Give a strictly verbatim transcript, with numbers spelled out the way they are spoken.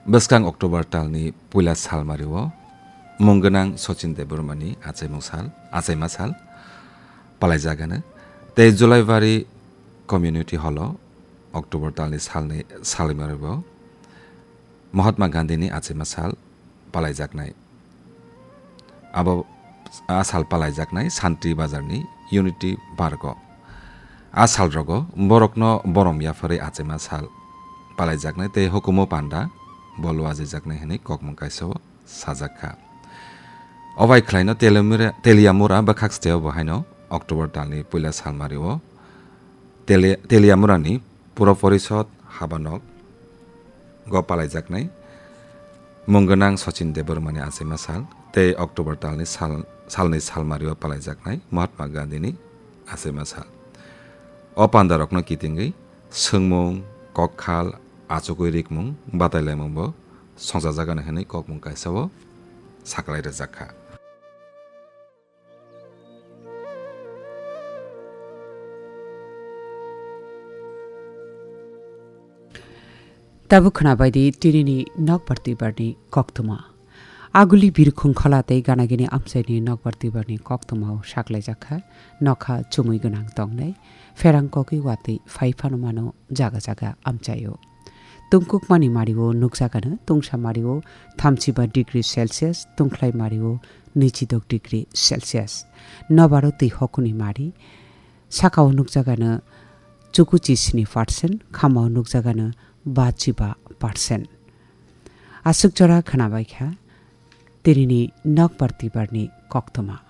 Bwskang October talni puila salmario mung gwnang Sachin Debbarmani achaimung sal, achaima sal palaijagano. Tei Julaibari Community Hall-o October talni salni salmario Mahatma Gandhini achaima sal palaijaknai. Abo a sal palaijaknai Santi Bazarni Unity Park-o. A salrogo borokno borom yapharwi achaima sal palaijaknai tei hukumu panda bo luajijaknai hwnwi kokmung kaisa-o sajak kha. Obai khlaino Teliamura, Teliamura bwkhak steo bo haino October talni puila salmario Teli-, Teliamurani Puro Porishod habanok go palaijaknai mung gwnang Sachin Debbarmani achaima sal tei October talni sal, salni salmario palaijaknai Mahatma Gandhini achaima sal. O pandarokno kitingwi swngmung, kokkhal, achugwi rikmung, batailaimungbo songchajagano hwnwi kokmung kaisa-o saklai rwjak kha. Tabuk khwnabaidi tinini nokbar twibarni koktwma. Aguli birkhung khola tei ganagini amchaini nokbar twibarni koktwmao saklaijak kha, nokha chumui gwnang tongnai, pherang kokwi watwi phai phano mano jaga jaga amchaio. Tungkukmani mario nukjagano tungsa mario thamchiba degree Celsius, tungkhlai mario nwichidok degree Celsius. Nobaro twi hokuni mari, sakao nukjagano chukuchi sini percent, khamao nukjagano bachiba percent. Aswk jora khwnabaikha tinini nokbar twibarni koktwma.